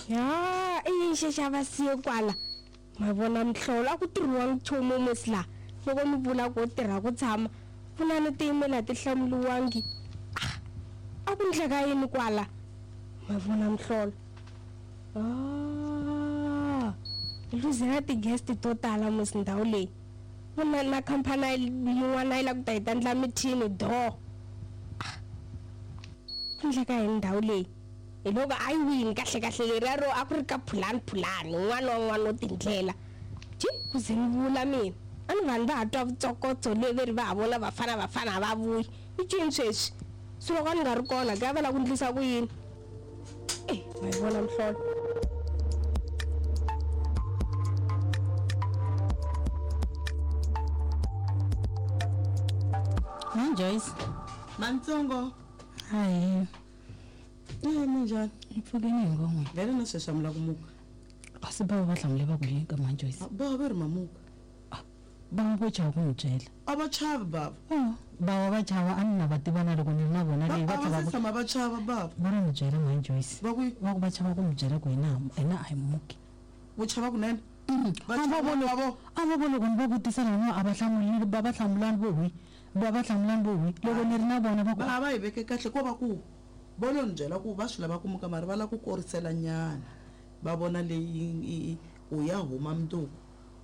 Ya i yini xexi a va siye kwala? Ma vona mihlolo a ku tirhiwa nchumu musi laha loko mi vula ku tirha ku tshama vunani ti-email a ti hlamuriwangi. Ah, a ku ndleka yini kwala? Ma vona mihlolo. Ah, hi luzela ti-guest to tala musi ndhawu leyi. Vona na khampani yin'wana yi lava ku ta hi ta endla mithini do. Ah, ku ndleka yini ndhawu leyi? Hi loko a yi wini kahle kahle leriya ro a ku ri ka phulani phulani un'wana wa un'wana wo tindlela. Ji ku ze ni vula mina a ni vanhu va ha twa vutsokotso le ve ri va ha vona vafana vafana a va vuyi. I ncini sweswi? Se loko a ni nga ri kona ke a va lava ku ndlisa ku yini? E ma yi vona mihlolo. Hi Joyce. Mantsongo. Hi. Eh minjhani? Hi pfukile hi ngon'we. Vhele na sweswi a mi lava ku muka. Kasi bava va hlamule va ku yini ka mhani Joyce? Bava va ri mamuka. Bava vo chava ku n'wi byela. A va chavi bava. Oh, bava va chava a ni na va tiva na loko ni ri na vona leyi va A va se tshama va chava bava. Va ri n'wi byela mhani Joyce. Va ku yini? Va ku va chava ku n'wi byela ku hina hina a hi muki. Vo chava kunene? Va A va chava vo loko vo. a va vo loko ni va vutisa lava a va hlamuli va va hlamulani vo hwi va va hlamulani vo hwi loko ni ri na vona va ku Va va yi veke kahle ko va ku vo lo ni byela ku va swi lava ku muka mara va lava ku korisela nyana va vona leyi ku ya huma mundzuku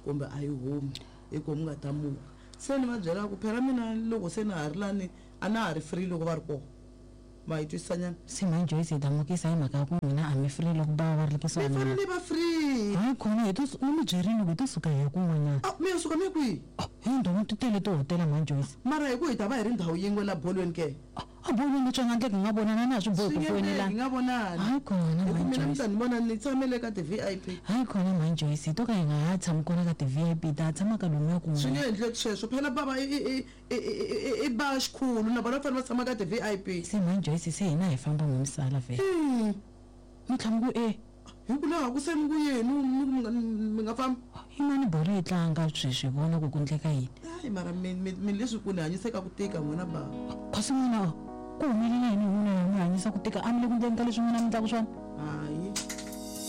kumbe a yi humi hi ko mi nga ta muka se ni va byela ku phela mina loko se na ha ri lani a na ha ri free loko va ri kona ma yi twisisa nyana. Se mhani Joyce hi ta mukisa hi mhaka ya ku n'wina a mi free loko bava va ri Mi kusuhani na fanele va free. Hayi khona hi to ni mi byerile ku hi to suka hi ya kun'wanyana. A mi ya suka mi ya kwihi? Hi ndhawu ti tele tihotela mhani Joyce. Mara hi ku hi ta va hi ri ndhawu yin'we la bolweni ke? A bolweni swi nga endleki hi nga vonana a swi bohi Swi ku nge endleki hi foyinelana. nga vonani. Hayi khona Hi ku mhani mina mi Joyce. ta ni vona ni tshamele ka ti-V_I_P. Hayi khona mhani Joyce hi to ka hi nga ha tshami kona ka ti-V_I_P hi ta ya tshama ka lomuya Swi nge kun'wana. endleki sweswo phela bava i i i i i ba xikhulu na vona va fanele va tshama ka ti-V_I_P. Se mhani Joyce se hina hi famba n'wi mi sala vhele. Mi tlhela mi ku e. Hi ku laha ku se ni ku yini mi ku mi nga mi nga fambi. Yimani bolo yi tlanga sweswi hi vona ku ku ndleka yini. Hayi mara mi mi mi leswi ku ni hanyise ka ku tika n'wina bava. Kasi n'wina ku humelela yini hi n'wina mi hanyisa ku tika a mi le ku ndleni ka leswi n'wina mi ndlaku swona. Hayi.